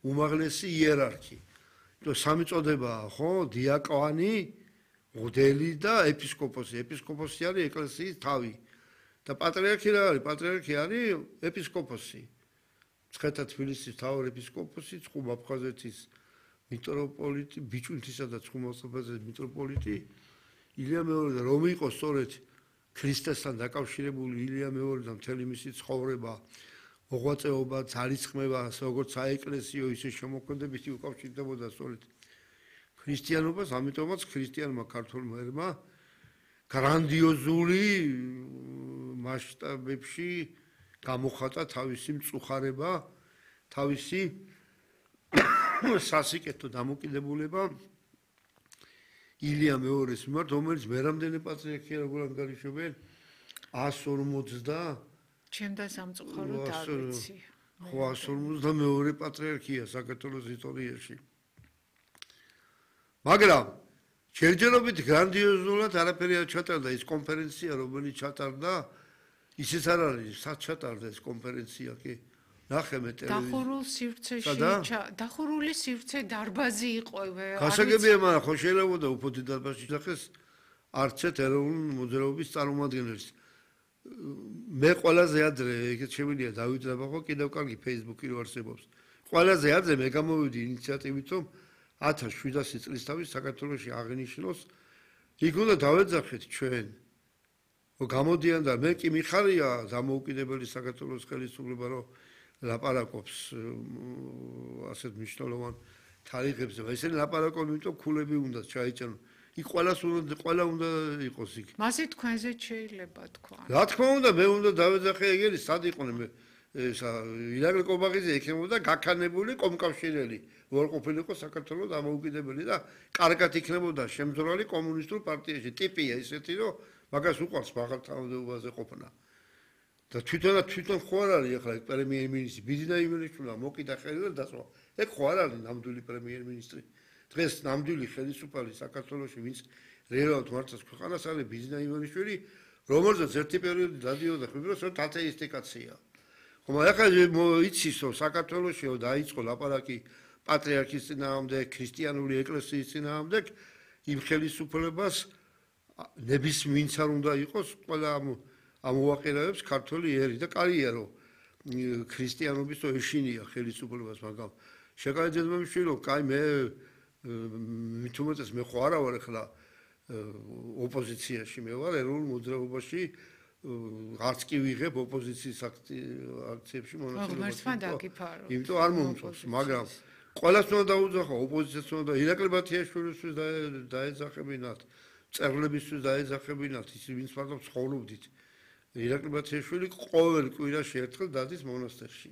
უმაღლესი იერარქი. სამი წოდებაა, ხო? დიაკვანი, მღვდელი და ეპისკოპოსი. ეპისკოპოსი არის ეკლესიის თავი. და პატრიარქი რა არის? პატრიარქი არის ეპისკოპოსი. მცხეთა თბილისის მთავარ ეპისკოპოსი, ცხუმ აფხაზეთის მიტროპოლიტი, ბიჭვინთისა და ცხუმ აფხაზეთის მიტროპოლიტი ილია მეორე და რომ იყო სწორედ ქრისტესთან დაკავშირებული ილია მეორე და მთელი მისი ცხოვრება, მოღვაწეობა, ძალისხმევა, როგორც საეკლესიო, ისე შემოქმედებითი უკავშირდებოდა სწორედ ქრისტიანობას, ამიტომაც ქრისტიანმა ქართველმა ერმა გრანდიოზული მასშტაბებში გამოხატა თავისი მწუხარება, თავისი სასიკეთო დამოკიდებულება ილია მეორის მიმართ, რომელიც მერამდენი პატრიარქია როგორ ანგარიშობენ 150 ჩემდა სამწუხაროდ არ ვიცი. ხო 152 პატრიარქია საქართველოს ისტორიაში. მაგრამ ჯერჯერობით გრანდიოზულად არაფერი არ ჩატარდა ის კონფერენცია, რომელიც ჩატარდა, ისიც არ არის, სად ჩატარდა ეს კონფერენცია კი? ნახე მე ტელევიზიაში. დახურული სივრცე დარბაზი იყო. გასაგებია, მაგრამ ხო შეიძლება უფრო დიდ დარბაზში ნახეს არცეთ ეროვნული მოძრაობის წარმომადგენელს. მე ყველაზე ადრე ეგეთ შემიძლია დავიძრაბა ხო კიდევ კარგი Facebook-ი რო არსებობს. ყველაზე ადრე მე გამოვიდი ინიციატივით, რომ 1700 წლის თავის საქართველოში აღინიშნოს, იქ უნდა დავეძახეთ ჩვენ. გამოდიან და მე კი მიხარია დამოუკიდებელი საქართველოს ხელისუფლება, რომ ლაპარაკობს ასეთ მნიშვნელოვან თარიღებზე. ესენი ლაპარაკობენ, იმიტომ ქულები უნდა ჩაიჭერონ. იქ ყველა უნდა იყოს იქ. მასე თქვენზე შეიძლება თქვა. რა თქმა უნდა, მე უნდა დავეძახე ეგერი, სად იყვნენ მე ირაკლი კობაღიძე ექნებოდა გაქანებული კომკავშირელი, որ ყოფილიყო საქართველოს დამოუკიდებელი და კარგად იქნებოდა შემძრალი კომუნისტურ პარტიაში. ტიპია ისეთი, რომ მაგას უყვარს მაღალთავაზობაზე ყოფნა. და თვითონ ხო არ არის ახლა პრემიერ-მინისტრი ბიძინა ივანიშვილმა მოკიდა ხელი და დასვა. ეგ ხო არ არის ნამდვილი პრემიერ-მინისტრი. დღეს ნამდვილი ხელისუფალი საქართველოში, ვინც რეალურად მართავს ქვეყანას, არის ბიძინა ივანიშვილი, რომელზეც ერთი პერიოდი დადიოდა ხვიბროს, რომ ათეისტი კაცია. ხომ ახლა იცის, რომ საქართველოში დაიწყო ლაპარაკი პატრიარქის წინააღმდეგ, ქრისტიანული ეკლესიის წინააღმდეგ, იმ ხელისუფლებას ნებისმიერ არ უნდა იყოს ყველა ამოვაყენებს ქართველი ერი და კარგია რომ ქრისტიანობის то ეშინია ხელისუფლებას, მაგრამ შეკაიძებამშვილი, კაი მე მithumetes მე ხო არა ვარ ახლა ოპოზიციაში, მე ვარ ეროვნულ მოძრაობაში, არც კი ვიღებ ოპოზიციის აქციებში მონაწილეობას. იმიტომ არ მომწონს, მაგრამ ყველას უნდა დაუძახო, ოპოზიციას უნდა ირაკლი ბათიაშვილისთვის დაეძახებინათ, მწერლებისთვის დაეძახებინათ, ის ვინც მარტო ცხოვრობდით. ირაკლი ბათიაშვილი ყოველ კვირაში ერთხელ დადის მონასტერში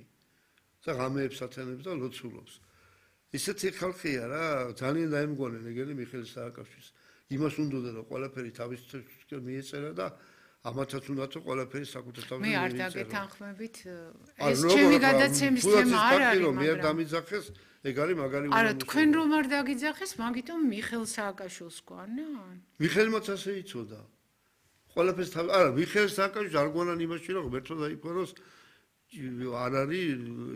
და ღამეებს ათენებს და ლოცულობს. ისეთი ხალხია რა, ძალიან დაემგონენ ეგენი მიხეილ სააკაშვილს. იმას უნდოდა რომ ყველაფერი თავის მიეწერა და ამათაც უნდათ რომ ყველაფერი საკუთარ თავზე მე არ დაგეთანხმებით, ეს ჩემი გადაცემის თემა არ არის, მაგრამ მე არ დამიძახეს, ეგ არის მაგარი უნდა. არა, თქვენ რომ არ დაგიძახეს, მაგიტომ მიხეილ სააკაშვილს გვანან? მიხეილმაც ასე იცოდა. ყველაფერს თავ არა, მიხეილ სააკაშვილს არ გვანან იმაში რომ ღმერთო დაიფაროს, არ არის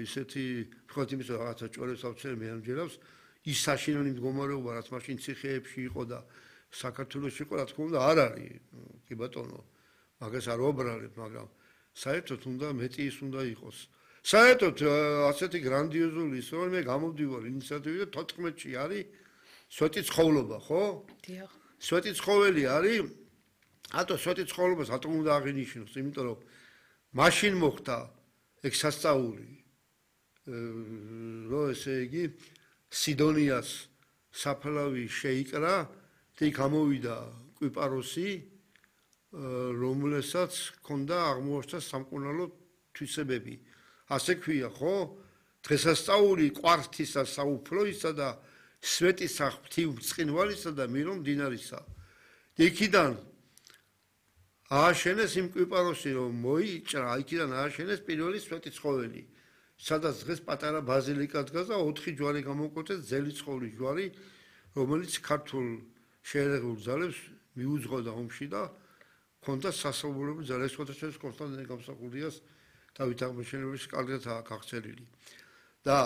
ისეთი თქვათ იმის რაღაცა ჭორებს ავწერე მე ამჯერავს, ის საშინელი მდგომარეობა რაც მაშინ ციხეებში იყო და საქართველოში იყო, რა თქმა უნდა არ არის, კი ბატონო. მაგას არ ვაბრალებ, მაგრამ საერთოდ უნდა მეტი ის უნდა იყოს. საერთოდ ასეთი გრანდიოზული ის რომ მე გამოვდივარ ინიციატივით 14-ში არის სვეტი ცხოვრობა, ხო? დიახ. სვეტი ცხოველი არის. ატო სვეტი ცხოვრობას ატომ უნდა აღინიშნოს, იმიტომ რომ მაშინ მოხდა ეგ სასწაული. რო ესე იგი სიდონიას საფლავი შეიკრა და იქ გამოვიდა კვიპაროსი, რომელსაც ჰქონდა აღმოჩნდა სამკურნალო თვისებები. ასე ქვია, ხო? დღესასწაული კვართისა, საუფლოისა და სვეტის ღვთი ბრწყინვალისა და მირო მდინარისა. იქიდან ააშენეს იმ კვიპაროსი, რომ მოიჭრა, იქიდან ააშენეს პირველი სვეტი ცხოველი. სადაც დღეს პატარა ბაზილიკა დგას და 4 ჯვარი გამოკვეთეს, ძელი ცხოვლის ჯვარი, რომელიც ქართულ შეერეღულ ძალებს მიუძღოდა ომში და ქონდა სასაუბრულო ძალა, შესაძლოა კონსტანტინე გამსახურდიას დავით აღმაშენებლის კარგად აღწერილი. და